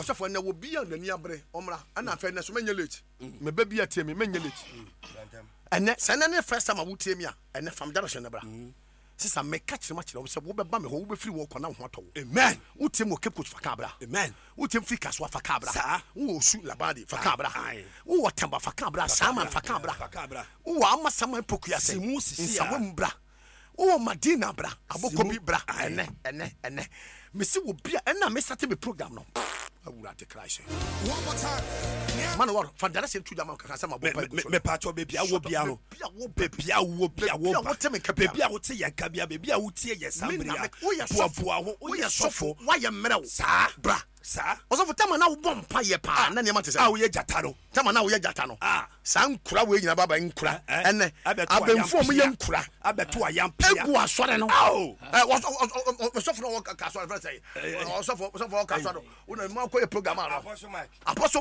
Ɔsɔfo, ɛnɛ wɔ bi a n'ani abere, ɔmmra. Ɛna afei ɛnɛ so menyɛ late. Meba bi a tie me, menyɛ late. Ɛnɛ sɛ ɛnɛ ne first time a wotie me a, ɛnɛ fam direction na bra. Sisa meka kyerɛ ma kyerɛ wo sɛ wobɛba me hɔ, wobɛfiri wɔ kɔ na wo ho atɔ wo. Amen. Wotie me wɔ Cape Coast, fa kaa bra. Amen. Wotie me firi Kasoa, fa kaa bra. Saa. Wowɔ Osu Labadi, fa kaa bra. Aye. Wowɔ Tamba, fa kaa bra. Saaman, fa kaa bra. Fa kaa bra. Wowɔ Amasaman Pokuase, Simu sisi a. Nsawam bra. Wowɔ Madina bra. Abokobi Simu. bra. Aye. Ɛnɛ, ɛnɛ, ɛnɛ. Mesi wɔ bia ɛna me start me program no. Awurade Christ. One more time. Man wɔ fa direction to jama kakra sɛ ma bɔ pa gu so. Mepatwɔ baabi a wɔ bia no, Baabi a wɔ baabi a wɔ bia Baabi a wɔ ba, wote me nka bia. baabi a wote yɛn nka bia, baabi a wotie yɛn saa Me bere na a, me woyɛ sɔfo. boaboa ho, Woyɛ sɔfo. Woayɛ mmerɛw. Saa. Bra. Saa. Ɔsɔfo, tama na wobɔ mpa yɛ paa na nneɛma te sɛ. A woyɛ gyata no. Tama na woyɛ gyata no. Ah. Saa nkura wei nyinaa baba nkura. Eh, Ɛnɛ abɛto abɛnfo a wɔyɛ ayampia. nkura. Abɛto ayampia. Egu asɔre no. Ao. Ɛ ɔsɔfo na ɔwɔ ka asɔre fɛn sɛ. Ɔsɔfo ɔwɔ ka asɔre no. Wona mu akɔyɛ program ano. Apostle Mike. Apostle.